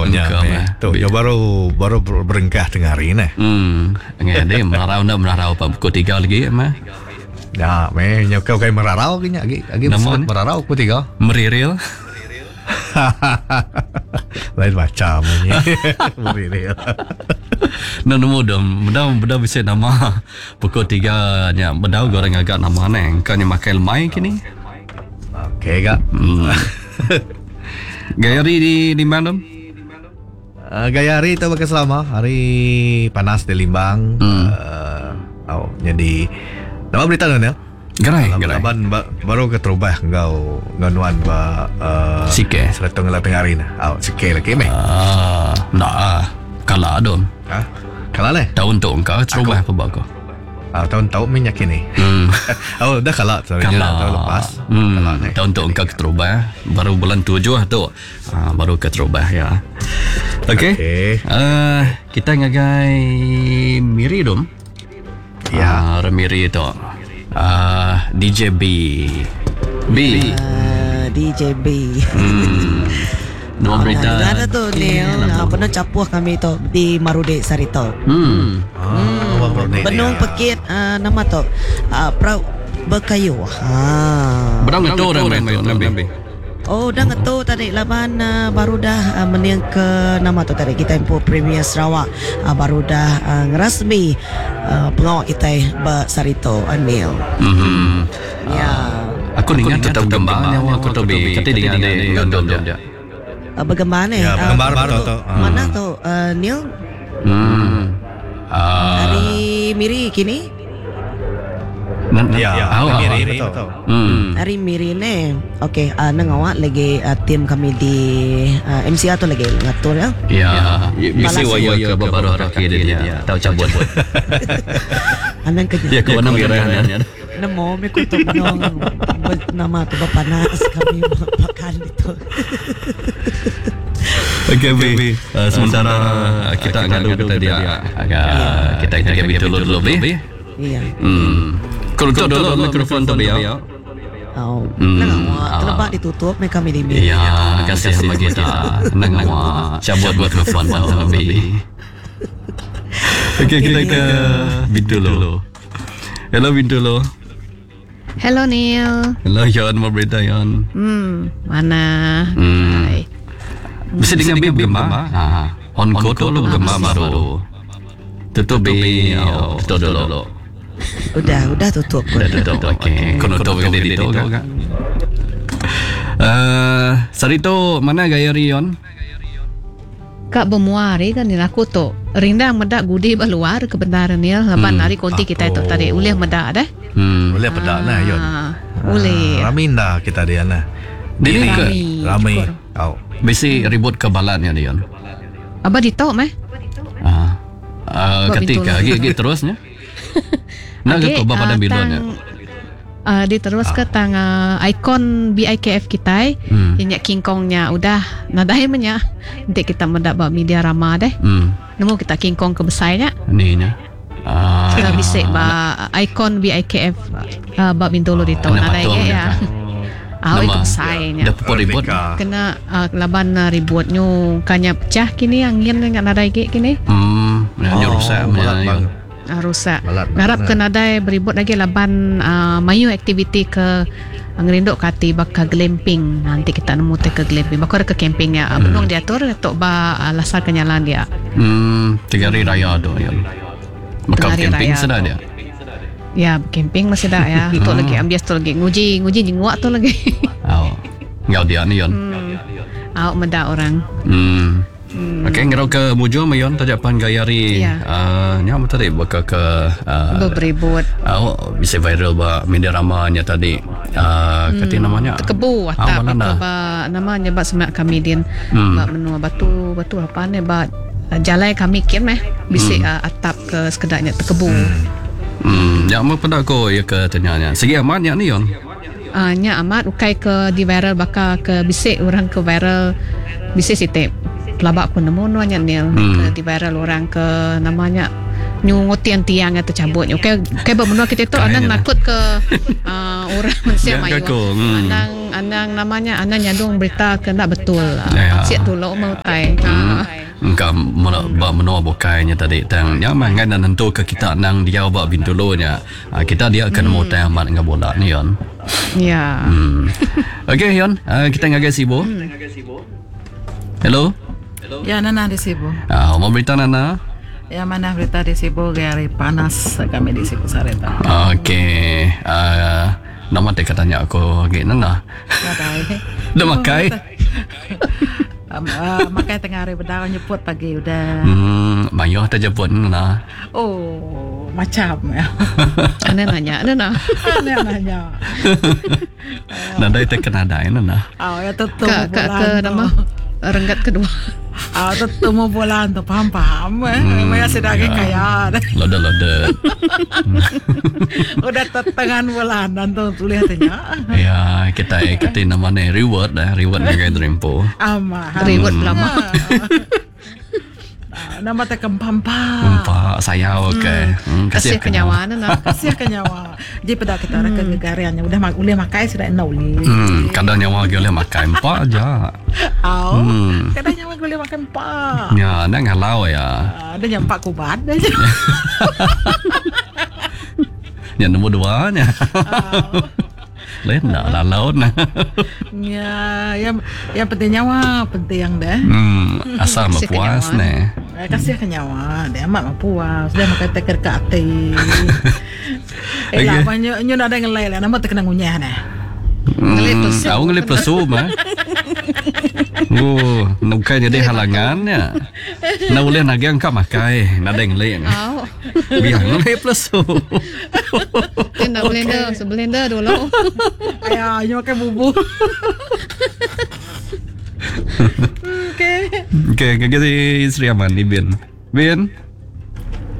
Oh, nya Engka meh. meh. Tu yo baru baru berengkah tengah hari neh. Hmm, ngai deh merarau enda merarau pa pukul 3 lagi meh. Ya meh nya kau kai merarau ke nya agi agi Nama sebut ni? merarau pukul 3. Meriril. Lain macam ni. Meriril. Enda nemu dom, bedau bedau bisi nama pukul 3 nya bedau ga orang ngaga nama neh. Engka nya makai lemai kini. Okey ga. Hmm. Gaya hari di Limbang dom? Uh, gaya hari tu baka selama hari panas di Limbang. Hmm. Uh, oh, jadi nama berita nuan ya? Gerai, gerai. Laban ba, baru ke terubah enggau enggau nuan ba uh, Sike. Seretong ngelah tengah hari nah. Oh, sike lagi meh. Ah, enda ah. Kala dom. Ha? Kala leh. Tahun tu engka terubah apa ba aku. Ah, tahun tau meh nyakin ni. Hmm. oh, dah kala sorry Kala tahun lepas. Hmm. Kala ni. Tahun tu engka keterubah baru bulan tujuh tu. Ah, baru keterubah ya. Okey. Okey. Uh, kita ngagai Miri dom. Ya. Ah, Miri tu. Ah, DJ B. B. DJB. Hmm. Dua berita. Ada tu Neil, ah, penuh capuh kami tu di Marude Sarito. Hmm. Ah, hmm. Benung pekit ah, nama tu ah, Prau Berkayu. Ha. Berang ngetu orang main tu nabi. Oh, dah ngetu tadi laban uh, baru dah uh, meniang ke nama tu tadi kita empu Premier Sarawak uh, baru dah uh, ngerasmi uh, pengawak kita ba Sarito Anil. Hmm. Ya. Aku ingat tetap gembar nyawa aku tu bi. Kati dengan dia gondom dia. Uh, bergembar ni. Ya, Ah, bergembar tu, betul tu. Ah. Mana tu uh, Neil? Hmm. Ah. Hari Miri kini? Ya, Ya, oh, Miri betul. Hmm. Hari Miri ni. Okey, uh, nang awak lagi uh, tim kami di uh, MCR tu lagi ngatur ya. Ya, mesti Balas. waya ke baru kaki dia dia. Tahu cabut. Anang kerja. Ya, kau nak kira kan. Nemo mi kutuk nong nama tu berpanas kami makan itu. Okey, Bi. Sementara kita ngadu kita dia. Agak kita kita kita dulu dulu, Bi. Iya. Hmm. Kau tutup dulu mikrofon tu, Bi. ya. Oh, Hmm. nang awak terlebak ditutup me kami di mi. Ya, kasih sama kita. Nang awak cabut mikrofon tu, Bi. Okey, kita ke Bintulu. Hello Bintulu. Hello Neil. Hello Yon, mau berita Yon. Mana? Hmm. Hai. Bisa dengan bi bergemar. Ha. On go tu lu bergemar baru. Tutup bi. Oh, tutup dulu. Udah, udah tutup pun. Dah tutup. Okey. Kau tutup ke dia tu kak. Eh, sari tu mana gaya Rion? Kak bermuari kan ni aku tu. Rindang medak gudi berluar kebenaran Neil. Laban hari konti kita itu tadi ulih medak dah. Hmm. Boleh pedak nah Yon. Ah, Boleh. Ah, Rami dah kita dia nah. Dia ni ke Rami. Rami. Oh. bisi ribut ke balannya Rion. Abah ditok meh. Ah. Uh, Buat ketika pintu lagi lagi terusnya. Nak ke Okey, tu pada ah, bilonnya. tang- ah, dia terus ke tang ah, ikon BIKF kita Hmm. hmm. King Kongnya udah nadai menya. Nanti kita mendak ba media rama deh. Hmm. Nemu kita King Kong ke besarnya. Ni nya. Ah. Kita bisik ba ikon BIKF uh, ba Bintulu dito Kena nadai patung ge dia ya. kan. Ah, itu Nama. besarnya. Dah pupuk ribut. Merdeka. Kena uh, laban uh, ribut nyu kanya pecah kini angin dengan nadai ge kini. Hmm, oh, rusak balat punya. bang. Rusak. Balat Ngarap bang. ke nadai beribut lagi laban uh, mayu aktiviti ke uh, ngerinduk kati bakal glamping. Nanti kita nemu te ke glamping. Bakal ke camping ya. Hmm. Benung diatur tok ba uh, lasar kenyalan dia. Hmm, tiga hari raya tu ya. Bakal Tengah hari camping raya sudah tu. dia. Ya, camping masih dah ya. Tu lagi ambias tu lagi nguji nguji jenguak tu lagi. Oh. Ngau dia ni yon. Awak medak orang. Hmm. Okey, ngerau ke mujur mayon tajapan gayari. Ya. Ah, uh, nya tadi bakal ke uh, Beribut. Oh, bisa viral ba media ramanya tadi. Ah, uh, kata namanya. Kebu Ah, atap mana itu dah? ba namanya ba semak kami din. Ba menua batu batu apa ni ba uh, jalai kami kin meh bisik uh, atap ke sekedarnya terkebu. Hmm, ya mau pada ko ya ke tanyanya. Segi aman ya ni yon. Ah, nya amat ukai ke di viral baka ke bisik orang ke viral bisik sitip. Pelabak pun nemu nuanya nil ke di viral orang ke namanya nyungut tiang-tiang atau cabut. Okey, okey ba menua kita tu Kayaknya anang lah. nakut ke uh, orang mensia Ya, mayuh. aku, hmm. Anang anang namanya anang nyadung berita ke enda betul. Ya. Pansik dulu meh utai. Ha. Engka mena ba menua bukai nya tadi tang nya mah ngai nentu ke kita nang diau ba Bintulu nya. Ha, kita dia ke nemu utai amat enggau bola ni yon. Ya. Okey yon, uh, kita ngagai Sibu. Hello. Ya Nana di Sibu. Ah, mau berita Nana? Ya mana berita di Sibu gaya hari panas kami di Sibu sareta. Okey. Uh, nama tak tanya aku lagi Nana. Nadai. Dah makai? Um, uh, makai tengah hari bedau nyeput pagi udah. Mayuh tak jemput Nana. Oh, macam ya. Ana nanya, ana nah. Ana nanya. Nadai tak kena adai Nana. Oh, ya tu Ke ke ke nama renggat kedua. Ah, tu temu bulan tu paham paham eh. Maya sudah ya. kaya. Loda loda. Udah tengan bulan dan tu tulis tanya. Ya, kita kita nama ni reward dah, reward ngagai Dreampo. Ama. Reward lama. Ah, Nama tak kempam-pam. Empak sayau okey. Hmm, Kasih ke nyawa ana nah. Kasih ke nyawa. Jadi pada kita orang kegegariannya udah mak boleh makai sudah enak boleh. Kadang nyawa lagi boleh makan empak aja. Au. Kadang nyawa boleh makan empak. Ya, nak ngalau ya. Ah, Ada yang empak kubat aja. Ya nombor dua nya. Lain nak lalau nah. Ya, yang yang penting nyawa penting deh. Asal Kasih ke puas nyawa. ni. Eh, Kasih ke nyawa, dia amat mampu puas. Dia makan teker ke hati. Eh lah, Okey. banyak nyu ada ngelai lah, nama terkena ngunyah dah. Ngelit pesu. Aku ngelit pesu mah. Oh, bukan jadi halangannya. Nak boleh nagang kau makai, nak ada ngelit. Au. Biar ngelit pesu. Dia nak blender, so blender dulu. Ayah, nyu makan bubur. Okey. Okey, okay, si Sri Aman ni Bin. Bin,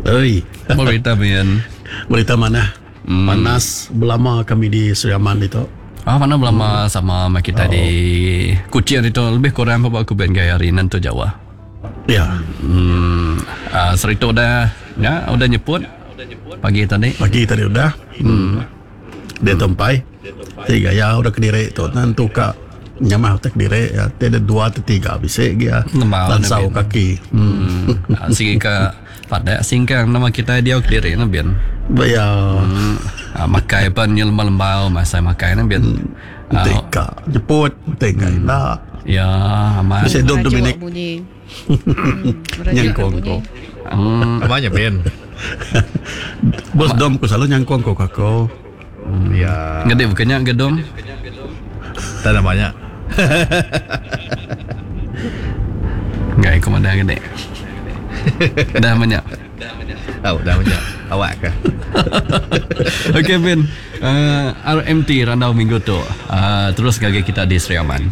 Oi, apa berita Bin? berita mana? Panas belama kami di Sri Aman itu. Ah, mana belama sama sama kita di Kuching itu lebih kurang apa aku ben gaya hari nanti Jawa. Ya, Ah, serito dah ya, udah nyeput pagi tadi. pagi tadi udah. Dia tempai. Tiga ya udah kediri tu. Nanti ka nyamah tak kediri ya. Tiada dua atau tiga bisa ya. Lemau, Lansau Nabil. kaki. Ah, Sigi ke pada singkang nama kita dia kediri na bin. Ya, Ah, makai pun nyu lembau-lembau masa makai na bin. Ah, tiga jemput, tiga nak. ya, aman. Bisa dom Merajuk Dominic bunyi. Merajuk nyangkong bunyi. ko. Namanya Ben. Bos dom ku selalu nyangkong ko kako. Ya. Gede bukannya gedung. Tak ada banyak. Enggak, aku mana gede. Dah banyak. Oh, dah banyak. Awak ke? Okey Ben, RMT Randau Minggu tu. Terus gagi kita di Sri Aman.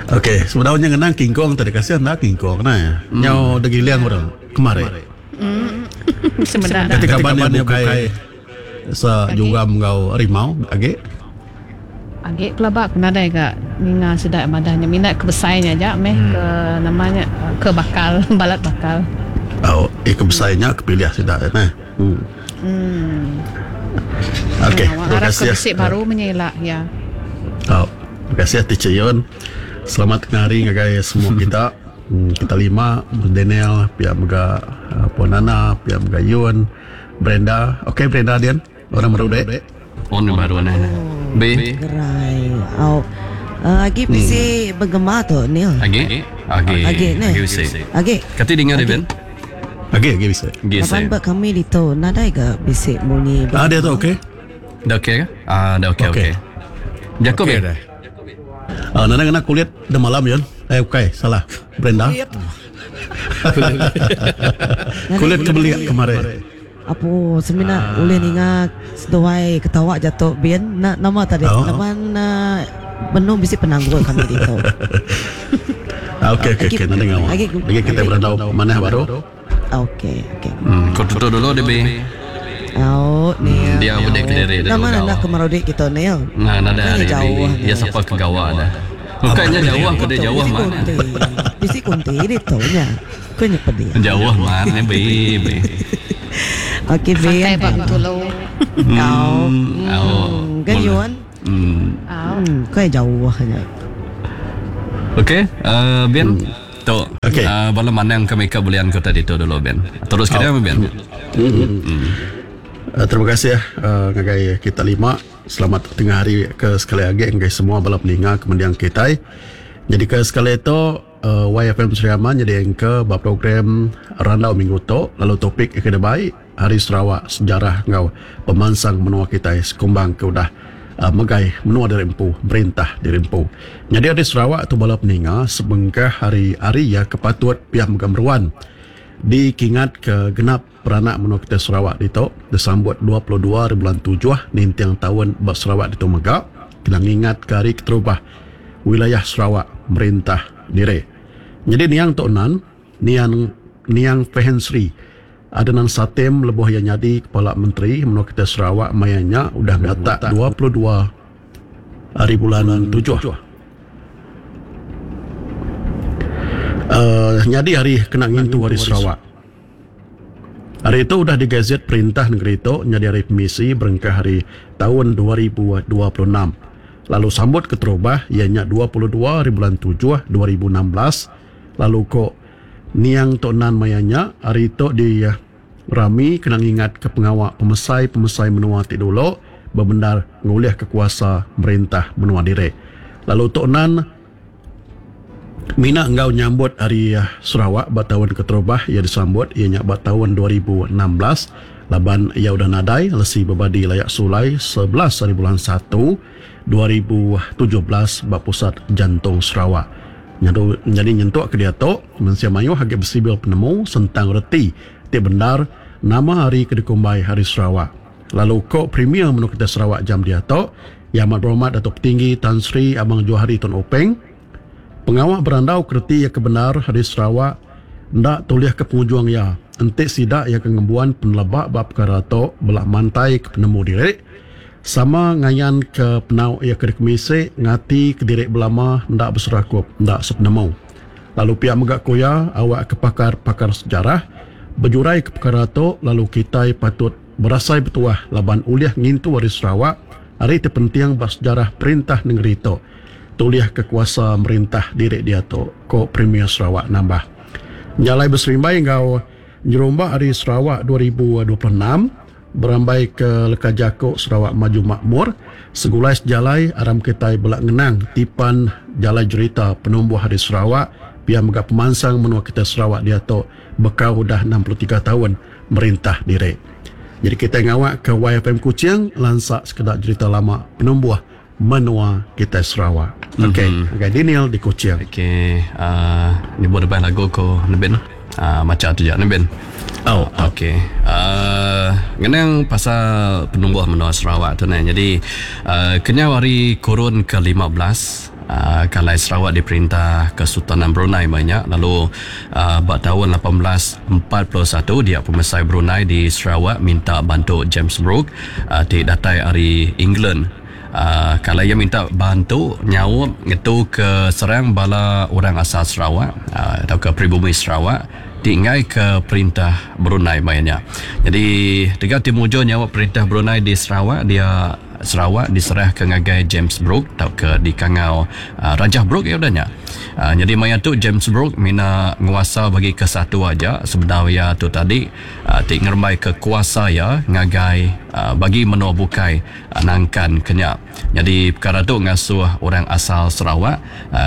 Okey, sebenarnya ngenang King Kong tadi kasih anda King Kong nah. Nyau degiliang orang kemarin. Sebenarnya. Ketika kaban dia bukai sa juga menggau rimau age. Agak pelabak kena ada gak ninga sudah madahnya minat kebesainya aja meh ke namanya ke bakal balat bakal. Oh, eh kebesainya kepilih sudah nah. Okey, Awak terima harap kasih. ya. kebesik baru menyelak ya. Oh, terima kasih Teacher Yon. Selamat tengah hari ngagai semua kita. Kita lima, Bos Daniel, pihak mega Puan Nana, pihak mega Yun, Brenda. Okey Brenda Dian, orang baru dek. On baru ni. B. Gerai. Au. Agi bisi bergema tu Neil. Agi. Agi. Agi ni. Agi usik. Agi. Kati dengar dia Ben. Okey, okey bisa. Agi Laban usik. ba kami ditu nadai ke bisi bunyi. Ah dia tu okey. Dah okey ke? Ah, dah okey okey. Okey. Jacob Okey okay, dah. Ah Nana kena kulit dah malam Yun. Eh okey, salah. Brenda. Kulit kebeliak kemarin. Apo semina ulih ninga seduai ketawa jatuh bin na, nama tadi Oh. laban uh, benung bisi penanggul kami ditu. Ah, okey okey okey nanti ngawal. Lagi- Lagi kita berandau mana baru. Okey okey. Kau tutup dulu dia B. Au Neil. Dia udah kediri dia Nama dulu nak kemarudi kita Neil. Nah, nada Bukannya hari jauh ni. Dia siapa ke gawak dah. Bukannya jauh aku dia jauh Bisi mana. kunti. Bisi kunti ditu nya. Kau nyepedi. Jauh mana B B. Okey Santai Bin. bang tulu. Kau. Oh. Kan Yuan. Hmm, kai jauh nya. Okey, Ben. Tu. Okey. Bala manang ke makeup belian ku tadi tu dulu Ben. Terus ke dia Ben. Terima kasih ngagai kita lima. Selamat tengah hari ke sekali agi ngagai semua bala peninga ke mending kitai. Nyadi ke sekali tu YFM Sri Aman nyadi anchor ba program Randau Minggu tu lalu topik ke dibai Hari Sarawak Sejarah enggau Pemansang Menua Kitai sekumbang ke udah megai menua diri empu merintah diri empu. Nyadi Hari Sarawak tu bala peninga sebengkah hari ari iya ke patut pia mega meruan dikingatka genap Peranak menua kitai Sarawak ditu disambut 22 ari bulan tujuh ninting taun ba Sarawak ditu mega kena ngingatka hari keterubah wilayah Sarawak merintah diri. Nyadi niang tu nan, niang niang Pehin Sri Adenan Satem lebuh iya nyadi Kepala Menteri menua kitai Sarawak maya nya udah ngatak 22 ari bulan tujuh. Uhh nyadi hari kena ngintu Hari Sarawak. Hari tu udah digazet perintah nengeri tu nyadi hari pemisi berengkah ari taun 2026 lalu sambut keterubah iya nya 22 hari bulan tujuh 2016 lalu ko niang Tok Nan maya nya hari tu di rami kena ngingatka pengawa pemesai-pemesai menua ti dulu bebendar ngulihka kuasa merintah menua diri lalu Tok Nan Mina enggau nyambut Hari Sarawak ba taun keterubah iya disambut iya nya ba taun 2016 laban iya udah nadai lesi bebadi layak sulai 11 haribulan satu 2017 ba Pusat Jantung Sarawak. Nyadu nyadi nyentuk ke diatu mensia mayuh agi besibil penemu sentang reti ti bendar nama hari ke dikumbai Hari Sarawak. Lalu ko Premier Menua Kitai Sarawak jam diatu, Yang Amat Berhormat Datuk Petinggi Tan Sri Abang Johari Tun Openg, pengawa berandau ke reti iya ke bendar di Sarawak enda tulihka pengujung iya enti sida iya ke ngembuan peneleba ba pekara tu bela mantai ke penemu diri sama ngayanka penau iya ke dikemisi ngati kediri belama enda beserakup enda sepenemu. Lalu pia mega ku iya awakka pakar-pakar sejarah bejuraika pekara tu lalu kitai patut Berasai betuah laban ulih ngintu Hari Sarawak, hari ti penting ba sejarah perintah nengeri tu tulihka kuasa merintah diri diatu, ku Premier Sarawak nambah. Nya alai beserimbai enggau nyerumba Hari Sarawak 2026, berambaika leka jaku Sarawak Maju Makmur, Segulai Sejalai aram kitai bela ngenang tipan jalai jerita penumbuh Hari Sarawak pia mega pemansang menua kitai Sarawak diatu bekau udah 63 taun merintah diri. Jadi kitai ngawakka YFM Kuching lansa sekeda jerita lama penumbuh menua kitai Sarawak. Okey, ngagai Daniel di Kuching. Okey, uh, nyebut depan lagu ko Nebin. Macha tu ja Nebin. Oh, okey. Ngenang pasal penumbuh menua Sarawak tu neh. Jadi kenyau ari kurun ke 15 Kalai Sarawak diperintah Kesultanan Brunei meh nya lalu ba taun 1841 dia pemesai Brunei di Sarawak minta bantu James Brooke ti datai ari England. Kalai iya minta bantu nyaup ngetu ke serang bala orang asal Sarawak tauka peribumi Sarawak ti enggai ke perintah Brunei meh nya. Nyadi tegal ti mujur nyaup perintah Brunei di Sarawak dia Sarawak diserahka ngagai James Brooke tauka dikangau Rajah Brooke iya udah nya. Nyadi maya tu James Brooke mina nguasa bagi ke satu aja sebedau iya tu tadi ti ngerembaika kuasa iya ngagai bagi menua bukai nangkan ke nya. Nyadi pekara tu ngasuh orang asal Sarawak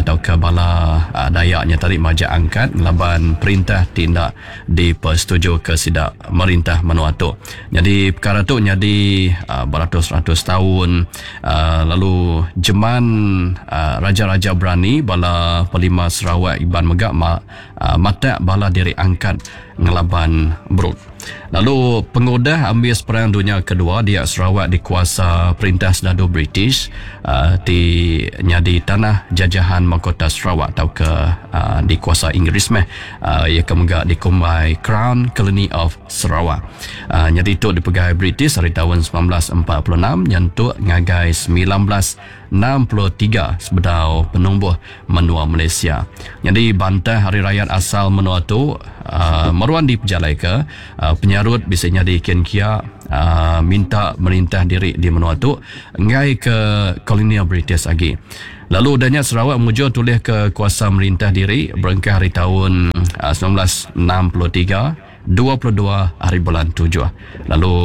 tauka bala Dayak nya tadi majak angkat ngelaban perintah ti enda dipesetujuka sida merintah menua tu. Nyadi pekara tu nyadi beratus-ratus taun lalu jeman raja-raja berani bala Pelima Sarawak Iban mega matak bala diri angkat ngelaban Brooke. Lalu pengudah ambis Perang Dunya Kedua dia Sarawak dikuasa perintah sedadu British ti nyadi tanah jajahan Mahkota Sarawak tauka dikuasa Inggeris meh iya ke mega dikumbai Crown Colony of Sarawak. Nyadi tu dipegai British ari taun 1946 nyentuk ngagai 1963 sebedau penumbuh menua Malaysia. Nyadi bantah ari rayat asal menua tu meruan dipejalaika, penyarut bisi nyadi kin kia. minta merintah diri di menua tu enggai ke kolonial British agi. Lalu udah nya Sarawak mujur tulih ke kuasa merintah diri berengkah ari taun 1963 22 hari bulan tujuh lalu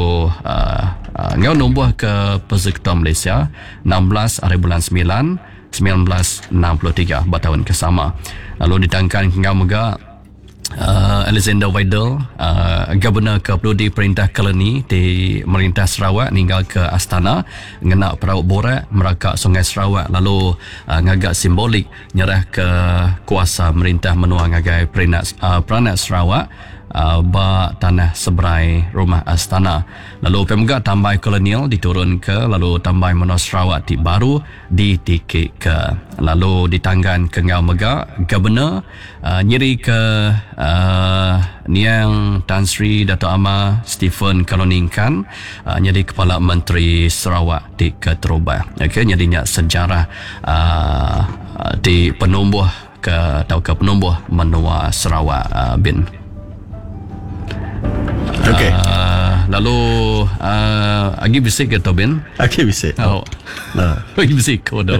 enggau numbuh ke Persekutuan Malaysia 16 hari bulan 9 1963 ba taun ke sama. Lalu ditangkan enggau mega Alexander Weidel, Governor ke penudi perintah koloni ti merintah Sarawak ninggalka Astana ngena perau borak meraka Sungai Sarawak lalu ngaga simbolik nyerahka kuasa merintah menua ngagai peranak Sarawak ba tanah seberai rumah Astana. Lalu pia mega tambai kolonial diturunka lalu tambai menua Sarawak ti baru ditikika lalu ditangganka enggau mega Governor nyirika niang Tan Sri Datuk Amar Stephen Kalong Ningkan nyadi Kepala Menteri Sarawak ti keterubah. Okey nyadi nya sejarah ti penumbuh ke tauka penumbuh menua Sarawak bin. Okey. Lalu agi bisi ke tu bin? Agi bisi. Oh. Agi bisi ko tu.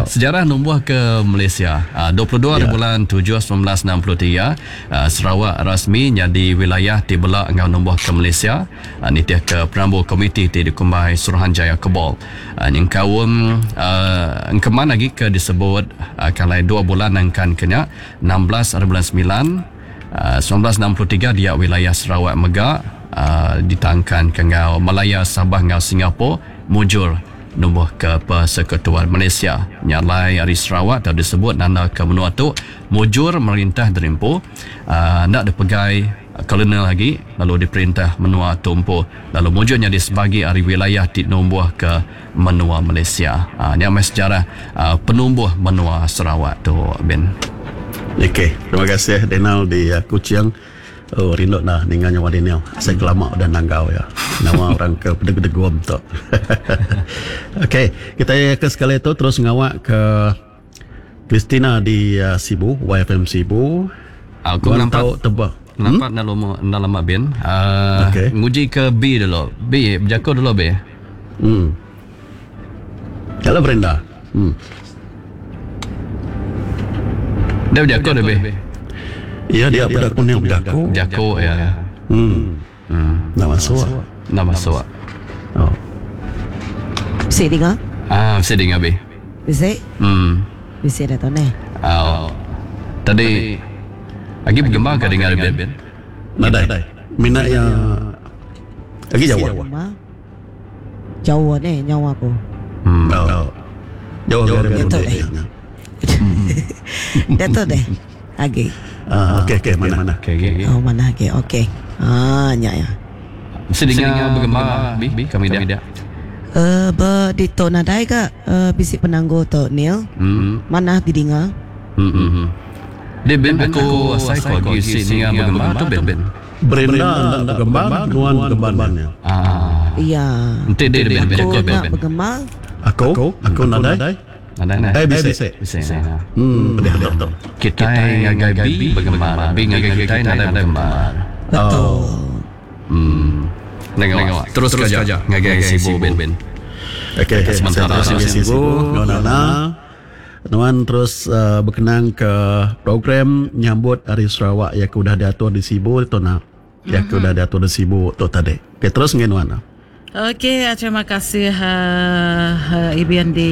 Sejarah numbuh ke Malaysia. 22 hari bulan 7 1963, Sarawak rasmi nyadi wilayah ti bela enggau numbuh ke Malaysia nitihka perambu komiti ti dikumbai Suruhanjaya Cobbold. Nyengkaum engkeman agi ke disebut kalai 2 bulan nangkan ke nya 16 hari bulan 9 1963 dia wilayah Sarawak mega ditangkanka enggau Malaya, Sabah enggau Singapore mujur numbuhka Persekutuan Malaysia. Nya alai ari Sarawak tau disebut nandaka menua tu mujur merintah diri empu enda dipegai kolonial agi lalu diperintah menua tu empu lalu mujur nyadi sebagi ari wilayah ti numbuhka menua Malaysia. Nya meh sejarah penumbuh menua Sarawak tu bin. Okey, terima kasih Daniel di Kuching. Oh rindu nah ninga nyawa Daniel. Asai ke lama udah nanggau iya. Nama orang ke pedegum tu. Okey, kita ke sekali tu terus ngawak ke Christina di Sibu, YFM Sibu. Aku Nuan nampak tau tebak. Nampak enda lama enda lama bin. Okey. Nguji ke B dulu. B bejaku dulu B. Kalau Brenda. Dia bejaku dah B. Ya dia peda kuning bejaku. Bejaku ya. Nak masuk. Nak masuk. Oh. Bisi dinga? Ah, bisi dinga B. Bisi? Bisi dah tu neh. Oh. Tadi agi begembar ke dinga Ben? Nadai. Mina iya agi jauh. Jauh neh nyawa aku. Oh. Jauh agi ari Datuk deh. Datuk deh. Agi. Ah, okey okey mana mana. Okey okey. Oh mana agi. Okey. Ah nya ya. Bisi dinga begembar bi kami dia. Ba ditu nadai ga bisi penanggul tu Neil. Manah didinga. Deh Ben aku asai ko agi bisi ninga begembar tu Ben. Brenda enda begembar nuan begembar nya. Ah. Iya. Enti deh Ben Aku bejaku Ben. enda begembar. Aku aku nadai. Nadai neh. Eh bisi. Bisi. Pedih tu. Kitai ngagai B begembar. B ngagai kitai nadai begembar. Betul. Nengok. Terus ke aja ngagai Sibu Ben. Okey, Sementara terus ngagai Sibu enggau Nana. Nuan terus bekenang ke program nyambut Hari Sarawak iya ke udah diatur di Sibu tu nah. Iya ke udah diatur di Sibu tu tadi. Okey, terus ngagai nuan. Okey, terima kasih Ibin di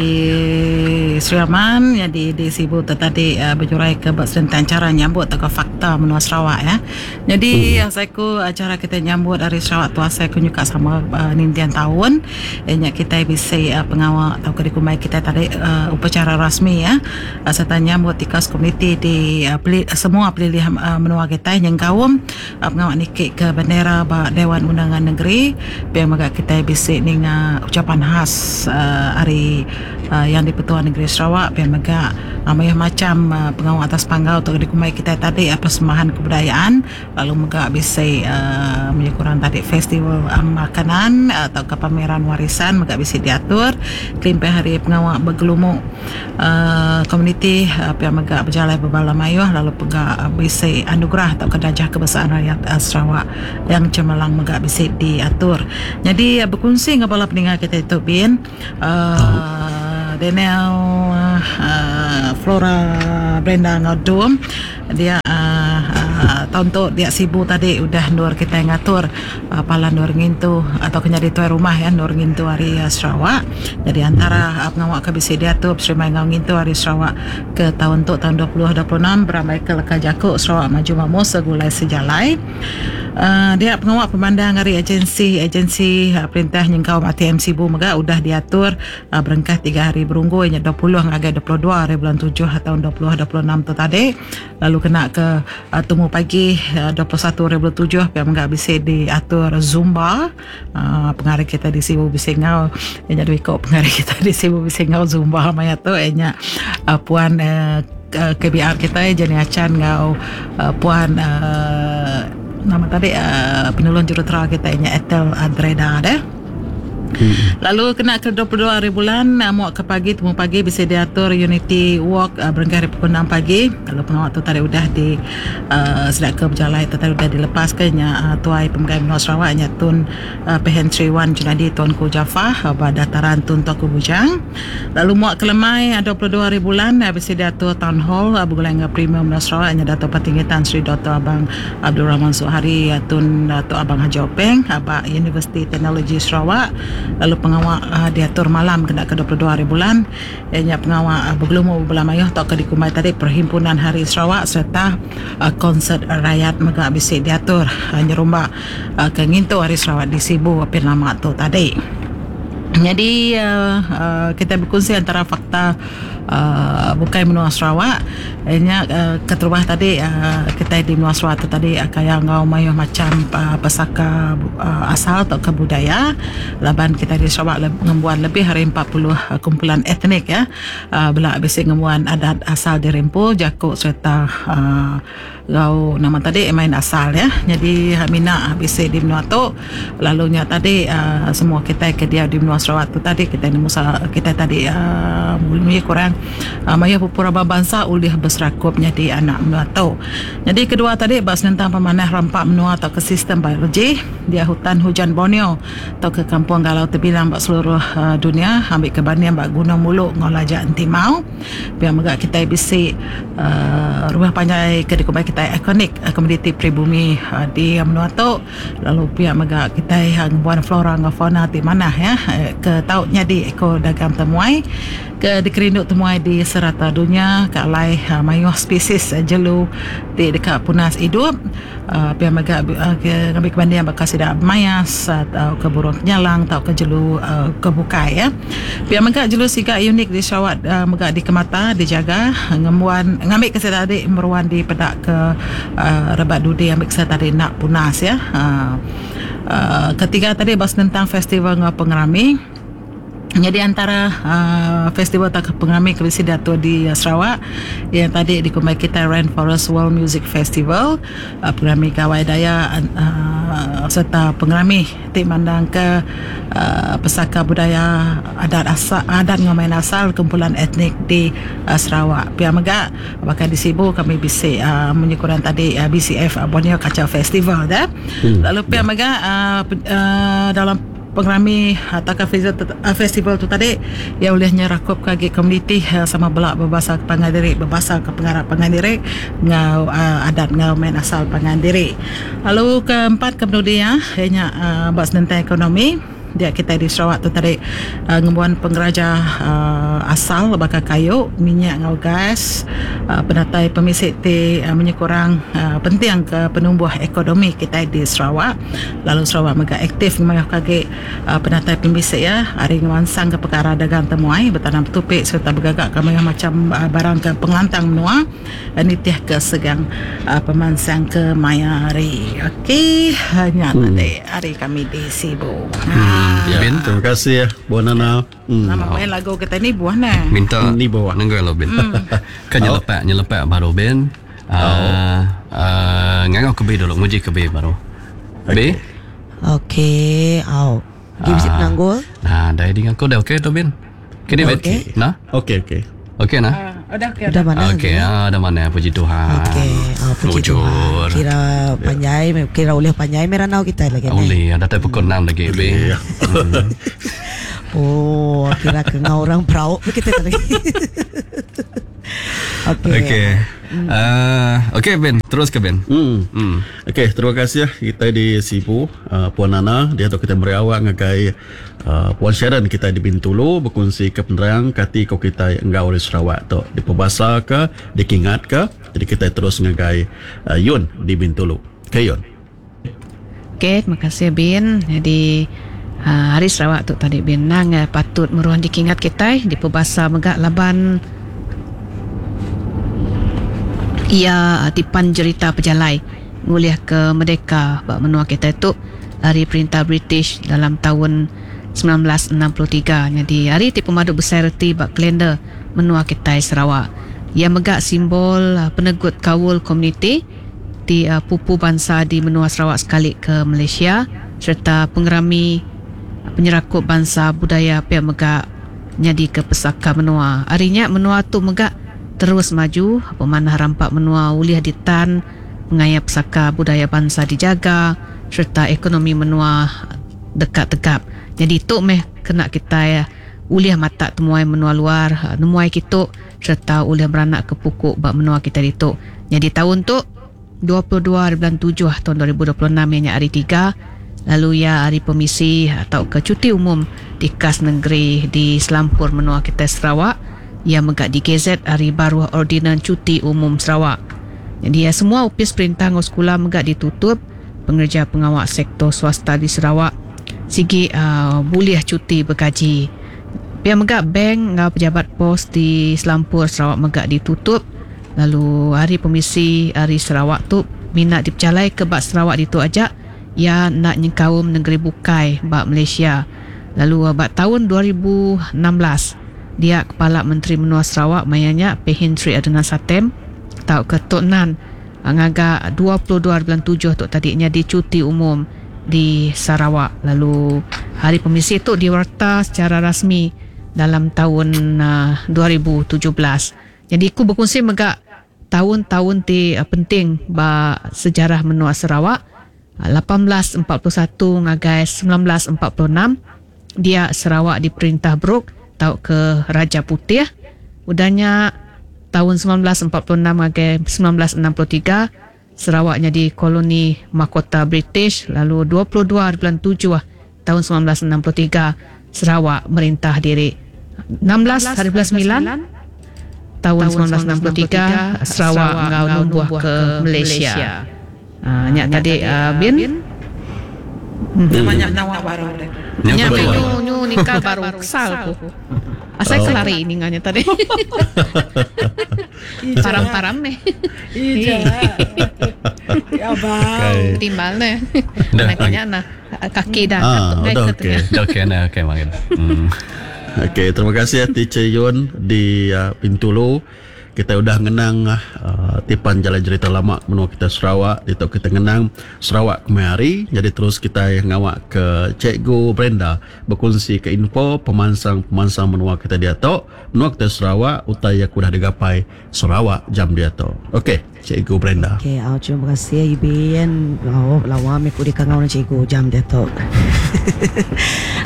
Sri Aman nyadi di Sibu tu tadi bejurai ke ba senentang chara nyambut tauka fakta menua Sarawak ya. Nyadi asai ku chara kitai nyambut Hari Sarawak tu asai ku nyuka sama ninting taun iya nya kitai bisi pengawa tauka dikumbai kitai tadi upacara rasmi ya sereta nyambut tikas komuniti di semua pelilih menua kitai nyengkaum Pengawa niki ke bendera ba Dewan Undangan Negeri pia mega kitai. Kitai bisi ninga ucapan khas ari Yang di-Pertua Negeri Sarawak pia mega mayuh macham pengawa atas panggau tu dikumbai kitai tadi persembahan kebudayaan lalu mega bisi maya kurang tadi festival makanan tauka pameran warisan mega bisi diatur kelimpah ari pengawa begelumu komuniti pia mega bejalai bebala mayuh lalu pega bisi anugerah tauka darjah kebesaran rakyat Sarawak. Yang cemerlang mega bisi diatur. Nyadi bekunsi enggau bala peninga kitai tu bin uhh Daniel uhh Flora Brenda enggau Dum dia uhh taun tu dia Sibu tadi udah endur kitai ngatur palan endur ngintu atau ke nyadi tuai rumah iya endur ngintu ari Sarawak. Nyadi antara pengawa ke bisi diatur beserimbai enggau ngintu ari Sarawak ke taun tu taun 2026 berambai ke leka jaku Sarawak Maju Makmur Segulai Sejalai. Dia pengawa pemandang ari agensi-agensi perintah nyengkaum ATM Sibu mega udah diatur berengkah tiga hari berunggu iya nya 20 ngagai 22 hari bulan tujuh taun 2026 tu tadi lalu kena ke tumu pagi 21 hari bulan tujuh pia mega bisi diatur zumba pengari kita di Sibu bisi enggau iya nya dua iko pengari kita di Sibu bisi enggau zumba maya tu iya nya puan KBR kitai Jenny Achan enggau puan nama tadi penulung jurutera kitai nya Ethel Andreda deh. Lalu kena ke 22 hari bulan muak ke pagi temu pagi bisi diatur Unity Walk berengkah ari pukul 6 pagi. Lalu pengawa tu tadi udah di sida ke bejalai tu tadi udah dilepas ke nya tuai pemegai menua Sarawak nya Tun Pehin Sri Wan Junadi Tuanku Jaafar ba dataran Tun Tuanku Bujang. Lalu muak ke lemai 22 hari bulan bisi diatur Town Hall begulai enggau Premier Menua Sarawak nya Datuk Patinggi Tan Sri Doktor Abang Abdul Rahman Zohari Tun Datuk Abang Haji Openg ba Universiti Teknologi Sarawak lalu pengawa diatur malam kena ke 22 hari bulan iya nya pengawa begelumu bebela mayuh tauka dikumbai tadi Perhimpunan Hari Sarawak sereta konsert rayat mega bisi diatur nyerumba ke ngintu Hari Sarawak di Sibu apin lama tu tadi. Nyadi kitai bekunsi antara fakta bukai menua Sarawak iya nya keterubah tadi kitai di menua Sarawak tu tadi kaya enggau mayuh macham pesaka asal tauka budaya laban kitai di Sarawak ngembuan lebih ari 40 kumpulan etnik ya bela bisi ngembuan adat asal diri empu jaku sereta Enggau nama tadi main asal ya. Nyadi mina bisi di menua tu lalu nya tadi uhh semua kitai ke diau di menua Sarawak tu tadi kitai nemu kitai tadi uhh mih kurang mayuh pupu raban bansa ulih beserakup nyadi anak menua tu. Nyadi kedua tadi ba senentang pemanah rampa menua tauka sistem biologi dia hutan hujan Borneo tauka kampung galau tebilang ba seluruh dunia ambika banding ba Gunung Mulu enggau Laja Entimau. Pia mega kitai bisi uhh rumah panjai ke dikumbai kitai ikonik komuniti peribumi di menua tu lalu pia mega kitai ngembuan flora enggau fauna ti manah ya ke tau nyadi eko dagang temuai ke dikerindu temuai di serata dunya ke alai mayuh spesies jelu ti deka punas idup. Pia mega ngambi ke banding baka sida mayas tauka burung kenyalang tauka jelu ke bukai. Pia mega jelu siga unik di Sarawak mega dikemata dijaga ngembuan ngambi ke sida adi meruan dipeda ke rebak dudi ambi ke sida tadi enda punas. Ketiga tadi ba senentang festival enggau pengerami. Nyadi antara uhh festival tauka pengerami ke bisi diatur di Sarawak iya tadi dikumbai kitai Rainforest World Music Festival uhh pengerami Gawai Dayak uhh sereta pengerami ti mandangka uhh pesaka budaya adat asal adat enggau main asal kumpulan etnik di Sarawak. Pia mega baka di Sibu kami bisi uhh munyi ku orang tadi BCF Borneo Culture Festival da. Lalu pia mega uhh dalam Pengerami tauka festival tu tadi iya ulih nyerakupka agi komuniti sama bela bebasa ke pangan diri, bebasa ke pengarap pangan diri enggau adat enggau main asal pangan diri. Lalu keempat ke penudi iya, iya nya ba senentang ekonomi dia kitai di Sarawak tu tadi ngembuan pengeraja asal baka kayu, minyak enggau gas, penatai pemisi ti menyekurang penting ke penumbuh ekonomi kitai di Sarawak. Lalu Sarawak mega aktif ngemayuhka agi penatai pemisi iya ari ngemansangka pekara dagang temuai, betanam betupi sereta begagaka mayuh macham barang ke pengelantang menua nitihka segang pemansang ke maya hari. Okey, nya tadi ari kami di Sibu. Ya. Bin Terima kasih Puan Nana. Nama main lagu kita ni buah nah. Minta Ni bawah. Nenggai lo Bin. Kan nyelepak nyelepak baru Bin. Ngangau ke B dulu, nguji ke B baru. B. Okey, au. Gi bisi penanggul. Nah, dah dengan aku dah okey tu Bin. Okey ni Bin. Okey. Nah, Okey okey. okey nah. Udah okey. Udah mana? Okey, ah dah mana puji Tuhan. Okey, puji Mujur. Tuhan. Kira panjai, kira ulih panjai meranau kita lagi ni. Boleh, ada tak pukul 6 lagi B. Ya. Oh, kira ke ngau orang perauk kita tadi. Okey. Okey. Okey Ben, terus ke Ben. Okey, terima kasih kita di Sibu, Puan Nana, dia tu kita beri awak ngagai Puan Sharon kita di Bintulu berkongsi ke penerang kati ko kita enggau di Sarawak tu. Di Pebasa ke, di Kingat ke. Jadi kita terus ngagai Yun di Bintulu. Okey Yun. Okey, terima kasih Bin. Jadi hari Sarawak tu tadi Bin nang patut meruan dikingat kita di Pebasa megak laban ia tipan cerita pejalai nguliah ke Merdeka bak menua kita itu hari perintah British dalam tahun 1963. Jadi hari ti pemadu besar reti bak kalender menua kita Sarawak. Ia megak simbol penegut kawul komuniti di pupu bangsa di menua Sarawak sekali ke Malaysia serta pengerami penyerakup bangsa budaya pihak megak jadi ke pesaka menua. Harinya menua tu megak terus maju, pemanah rampak menua uliah ditan, pengaya pesaka budaya bangsa dijaga serta ekonomi menua dekat tegap. Jadi tu meh kena kita ya, uliah mata temuai menua luar, nemuai kita serta uliah beranak ke pukuk bak menua kita ditu. Jadi tahun tu 22 bulan 7 tahun 2026 ianya hari 3, lalu ya hari permisi atau ke cuti umum di kas negeri di Selampur menua kita Sarawak. Ia megak di GZ hari baru ordinan cuti umum Sarawak. Jadi ya, semua upis perintah ngau sekolah megak ditutup, pengerja pengawak sektor swasta di Sarawak sigi boleh cuti bergaji. Pihak megak bank ngau pejabat pos di Selampur Sarawak megak ditutup. Lalu hari permisi hari Sarawak tu minat dipercalai ke bak Sarawak ditu ajak ia nak nyengkaum negeri bukai bak Malaysia. Lalu bak tahun 2016 dia Kepala Menteri Menua Sarawak mayanya Pehin Sri Adenan Satem tau ke Tok Nan ngagak 22 bulan 7 tu tadinya di cuti umum di Sarawak. Lalu hari permisi tu diwarta secara rasmi dalam tahun 2017. Jadi aku berkongsi megak tahun-tahun ti penting ba sejarah menua Sarawak. 1841 ngagai 1946 dia Sarawak diperintah Brooke tau ke Raja Putih. Udahnya tahun 1946 ngagai 1963 Sarawak jadi koloni mahkota British. Lalu 22 bulan 7 tahun 1963 Sarawak merintah diri. 16 hari bulan 9 tahun 1963 Sarawak ngau numbuh ke Malaysia. Nyak tadi Bin Banyak nawa baru deh. Nyak nyu nyu nikah baru kesal ku. Asal kelari ninganya tadi. Param-param nih. Iya. Ya bang. Timbal nih. Anaknya nah kaki dah. Udah okey. Okey nah okey makin. Okey, terima kasih Teacher Yun di Bintulu. Kita udah ngenang tipan jalan cerita lama menua kita Sarawak, itu kita ngenang Sarawak kemari. Jadi terus kita ngawak ke Cikgu Brenda berkongsi ke info pemansang-pemansang menua kita dia tu, menua kita Sarawak utai yang udah digapai Sarawak jam dia tu. Okey, Cikgu Brenda. Okey, terima kasih Ibin. Oh, lawa me ku dikangau cikgu jam dia tu.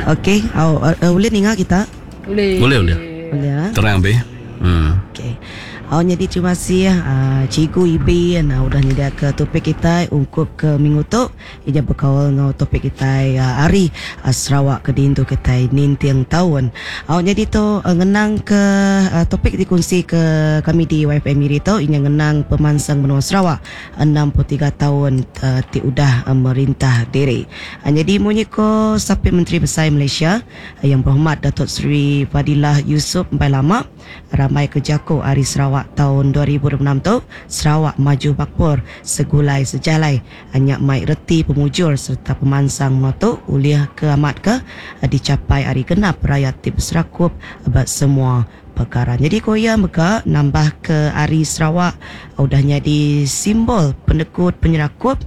Okey, boleh ninga kita? Boleh. Boleh boleh. Boleh ah. Terang be. Okey. Jadi terima kasih Cikgu Ibin udah nyedia ke topik kita ungkup ke minggu tu. Ia berkawal ngau topik kita hari Sarawak ke dintu kita nintiang tahun. Jadi tu ngenang ke topik dikongsi ke kami di YFM Miri tu ini ngenang pemansang menua Sarawak 63 tahun ti udah merintah diri. Jadi munyi ko Sapit Menteri Besar Malaysia yang berhormat Datuk Seri Fadilah Yusof Empai Lama ramai ke jako hari Sarawak Sarawak taun 2026 tu, Sarawak Maju Bakpur Segulai Sejalai nya mai reti pemujur sereta pemansang menua tu ulih ke amat ke dichapai ari genap rayat ti beserakup ba semua pekara. Nyadi ku iya mega nambah ke Hari Sarawak udah nyadi simbol penegut penyerakup,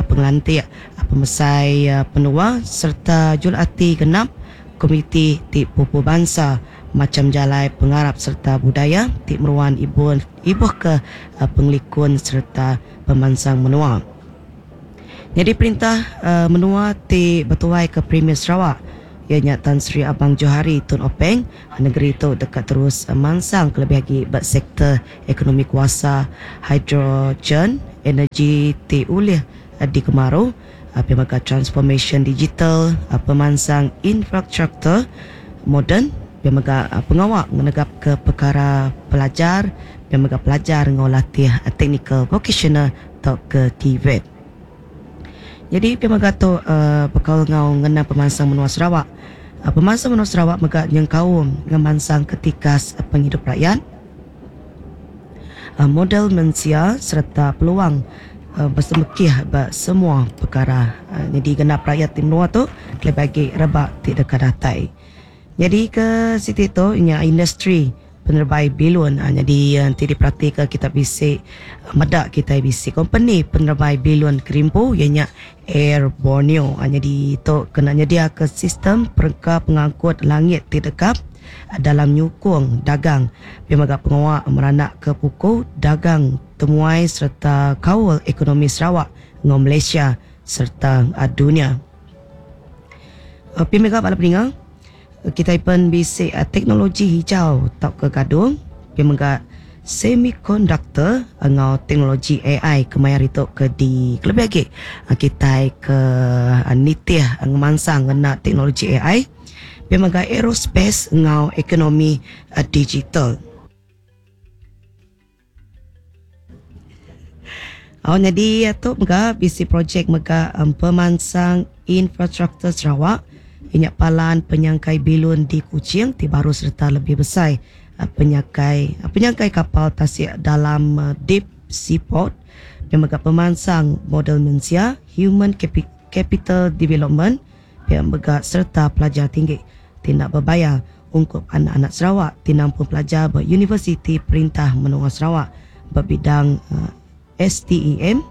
pengelantik pemesai penua sereta juluk ati genap komiti ti pupu bansa macham jalai pengarap sereta budaya ti meruan ibuhka pengelikun sereta pemansang menua. Nyadi perintah menua ti betuaika Premier Sarawak iya nya Tan Sri Abang Johari Tun Openg, nengeri tu deka terus mansang kelebih agi ba sektor ekonomi kuasa hidrogen, energi ti ulih dikemaru, pia mega transformasyen digital, pemansang infrastruktur moden, pia mega pengawa ngenegapka pekara pelajar, pia mega pelajar enggau latih teknikal vokasional tauka TVET. Nyadi pia mega tu bekaul enggau ngena pemansang menua Sarawak. Pemansang menua Sarawak mega nyengkaum ngemansangka tikas pengidup rakyat, model mensia sereta peluang besemekih ba semua pekara. Nyadi genap rakyat ti menua tu kelebih agi rebak ti deka datai. Nyadi ke siti tu nya industri penerebai bilun. Nyadi enti diperatika kita bisi meda kitai bisi kompeni penerebai bilun kerimpu iya nya Air Borneo. Nyadi tu kena nyediaka sistem perengka pengangkut langit ti dekap dalam nyukung dagang pia mega pengawa meranakka puku dagang temuai sereta kaul ekonomi Sarawak enggau Malaysia sereta dunya. Pia mega bala peninga, kitai pen bisi teknologi hijau tauka gadung, pia mega semikonduktor enggau teknologi AI kemaya hari tu ke di kelebih agi kitai ke nitih ngemansang ngena teknologi AI, pia mega aerospace enggau ekonomi digital. Oh nyadi tu mega bisi projek mega pemansang infrastruktur Sarawak iya nya palan penyangkai bilun di Kuching ti baru sereta lebih besai penyangkai penyangkai kapal tasik dalam Deep Sea Port pia mega pemansang model mensia Human Capital Development pia mega sereta pelajar tinggi ti enda bebayar ungkup anak-anak Sarawak ti nampung pelajar ba Universiti Perintah Menua Sarawak ba bidang STEM,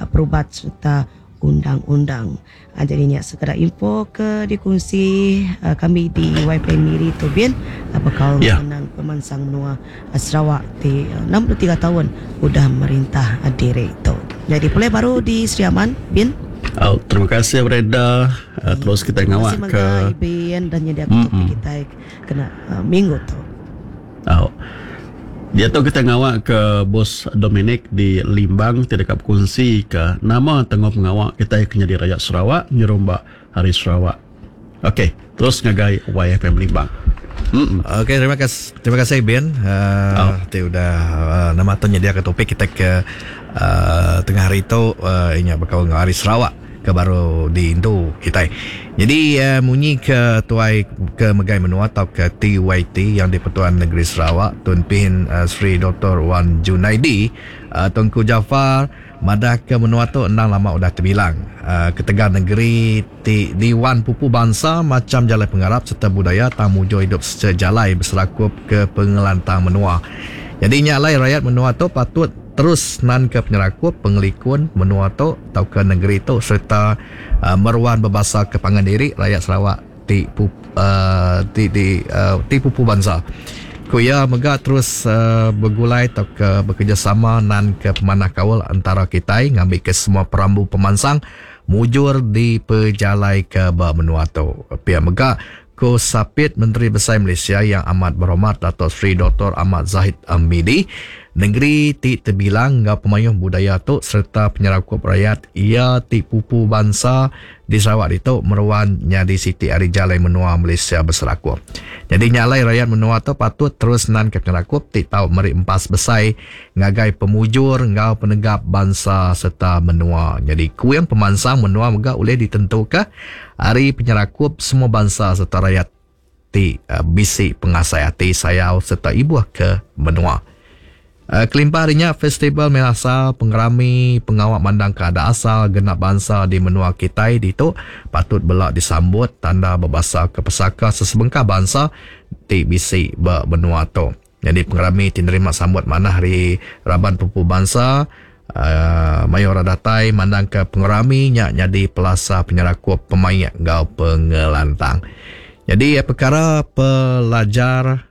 perubat sereta undang-undang. Jadi nya sekeda info ke dikunsi kami di YPN Miri tu bin bekaul ngenang pemansang menua Sarawak ti 63 taun udah merintah diri tu. Jadi pulai baru di Sri Aman bin. Au, terima kasih Brenda. Terus kita ngawak ke Terima kasih Ibin dan nyedia ke topik kitai kena minggu tu. Au. Diatu kita ngawak ke Bos Dominic di Limbang ti deka bekunsi ke nama tanggung pengawa kitai ke nyadi rayat Sarawak nyerumba Hari Sarawak. Okey, terus ngagai YFM Limbang. Okey, terima kasih terima kasih Ibin uh, ti udah uh, nama tu nyediaka topik kita ke uh, tengah hari tu uh, inya bekaul enggau Hari Sarawak ke baru diintu kitai. Jadi uh, munyi ke tuai ke megai menua atau ke TYT yang di Pertuan Negeri Sarawak Tun Pehin uh, Sri Dr. Wan Junaidi uh, Tunku Jaafar madah ke menua tu endang lama udah tebilang uh, ketegal negeri ti diwan pupu bansa macham jalai pengarap sereta budaya tang mujur idup sejalai beserakup ke pengelantang menua. Nyadi nya alai rayat menua tu patut terus nanka penyerakup pengelikun menua tu tauka nengeri tu sereta meruan bebasa ke pangan diri rayat Sarawak ti ti di ti pupu bansa. Ku iya mega terus begulai tauka bekerejasama nanka pemanah kaul entara kitai ngambika semua perambu pemansang mujur dipejalaika ba menua tu. Pia mega, ku Sapit Menteri Besai Malaysia Yang Amat Berhormat Dato Sri Doktor Ahmad Zahid Hamidi, nengeri ti tebilang enggau pemayuh budaya tu sereta penyerakup rayat iya ti pupu bansa di Sarawak ditu meruan nyadi siti ari jalai menua Malaysia beserakup. Nyadi nya alai rayat menua tu patut terus nanka penyerakup ti tau meri empas besai ngagai pemujur enggau penegap bansa sereta menua. Nyadi kuing pemansang menua mega ulih ditentuka ari penyerakup semua bansa sereta rayat ti bisi pengasai ati sayau sereta ibuh ke menua. Kelimpah ari nya, festival main asal, pengerami, pengawa mandangka adat asal genap bansa di menua kitai ditu patut bela disambut tanda bebasaka pesaka sesebengkah bansa ti bisi ba menua tu. Nyadi pengerami ti nerima sambut manah ari raban pupu bansa, mayuh orang datai mandangka pengerami nya nyadi pelasar penyerakup pemaik enggau pengelantang. Nyadi pekara pelajar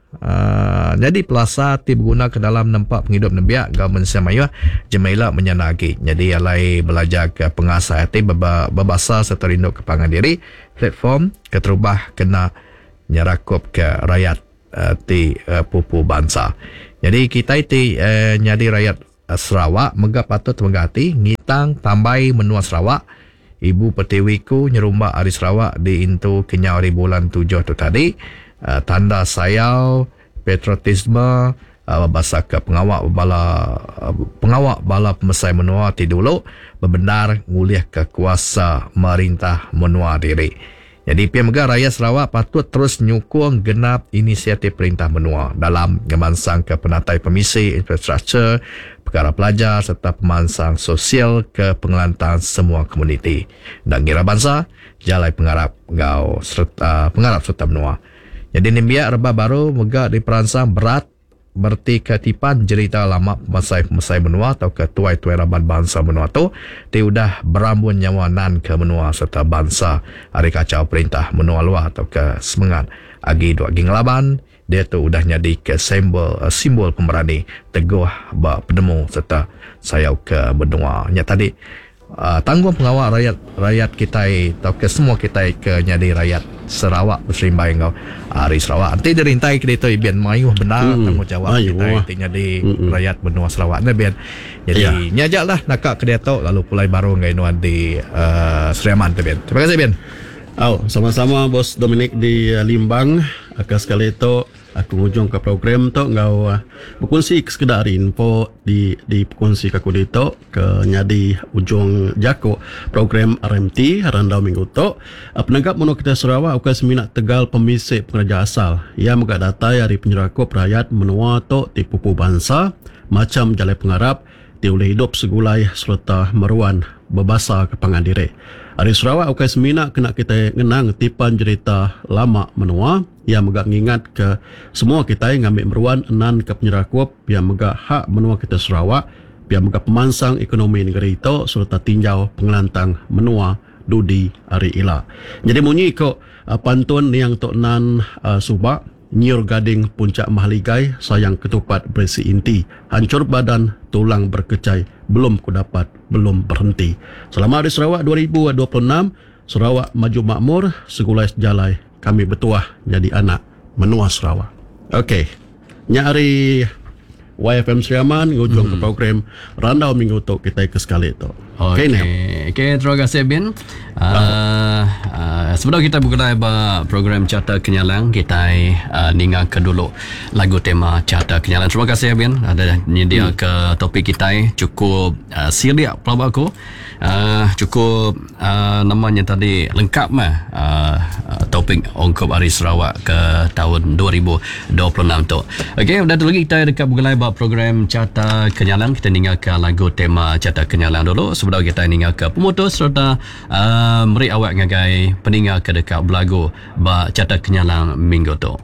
nyadi pelasar ti beguna ke dalam nempa pengidup nembiak enggau mensia mayuh jemah ila menyana agi nyadi alai belajarka pengasai ati bebasa sereta rinduka pangan diri platform keterubah kena nyerakupka rayat ti pupu bansa. Nyadi kitai ti nyadi rayat Sarawak mega patut temegah ati ngitang tambai menua Sarawak. Ibu Pertiwi ku nyerumba ari Sarawak diintu kenyau ari bulan tujuh tu tadi. Tanda sayau, patriotisme, bebasaka pengawa bala pengawa bala pemesai menua ti dulu bebendar ngulihka kuasa merintah menua diri. Nyadi pia mega rayat Sarawak patut terus nyukung genap inisiatif perintah menua dalam ngemansangka penatai pemisi infrastruktur, pekara pelajar sereta pemansang sosial ke pengelantang semua komuniti enda ngira bansa, jalai pengarap enggau sereta pengarap sereta menua. Nyadi nembiak rebak baru mega diperansang berat Meretika tipan jerita lama pemesai-pemesai menua tauka tuai-tuai raban bansa menua tu ti udah berambun nyawa nanka menua sereta bansa ari kachau perintah menua luar tauka semengat agi dua agi ngelaban diatu udah nyadika sembol simbol pemerani teguh ba penemu sereta sayauka menua nya tadi. Tanggung pengawa rayat rayat kitai tauka semua kitai ke nyadi rayat Sarawak beserimbai enggau ari Sarawak. Enti dirintai ke ditu ibin mayuh bendar tanggungjawab kitai ti nyadi rayat menua Sarawak ne bin. Jadi nya aja lah naka ke diatu lalu pulai baru ngagai nuan di Sri Aman tu bin. Terima kasih bin. Au, sama-sama bos Dominic di Limbang. Ke sekali tu Aku ngujungka program tu enggau bekunsi ke sekeda ari info di dipekunsika aku ditu ke nyadi ujung jaku program RMT randau minggu tu. Penegap menua kitai Sarawak ukai semina tegal pemisi pengereja asal. Iya mega datai ari penyerakup rayat menua tu ti pupu bansa, macham jalai pengarap, ti ulih idup segulai sereta meruan bebasa ke pangan diri. Ari Sarawak ukai semina kena kitai ngenang tipan jerita lama menua, iya mega ngingatka semua kitai ngambi meruan enan ke penyerakup pia mega hak menua kitai Sarawak, pia mega pemansang ekonomi nengeri tu sereta tinjau pengelantang menua dudi hari ila. Nyadi munyi ko pantun niang tu nan suba. Nyiur gading puncak mahligai sayang ketupat berisi inti hancur badan tulang berkecai belum ku dapat belum berhenti Selamat Hari Sarawak 2026 Sarawak maju makmur segulai sejalai kami betuah nyadi anak menua Sarawak. Ok nya ari YFM Sri Aman ngujung ke program randau minggu tu kitai ke sekali tu. Okey okay. Okey, terima kasih Bin. Sebedau kita begulai ba program Carta Kenyalang, kita ninga ke dulu lagu tema Carta Kenyalang. Terima kasih Bin ada nyedia ke topik kita cukup silik pelaba aku. Cukup nama nya tadi lengkap meh topik ungkup Hari Sarawak ke taun 2026 tu. Okey, udah tu lagi kita deka begulai ba program Carta Kenyalang. Kita ninggalka lagu tema Carta Kenyalang dulu sebedau kita ninggalka pemutus sereta meri awak ngagai peninga ke deka belagu ba Carta Kenyalang minggu tu.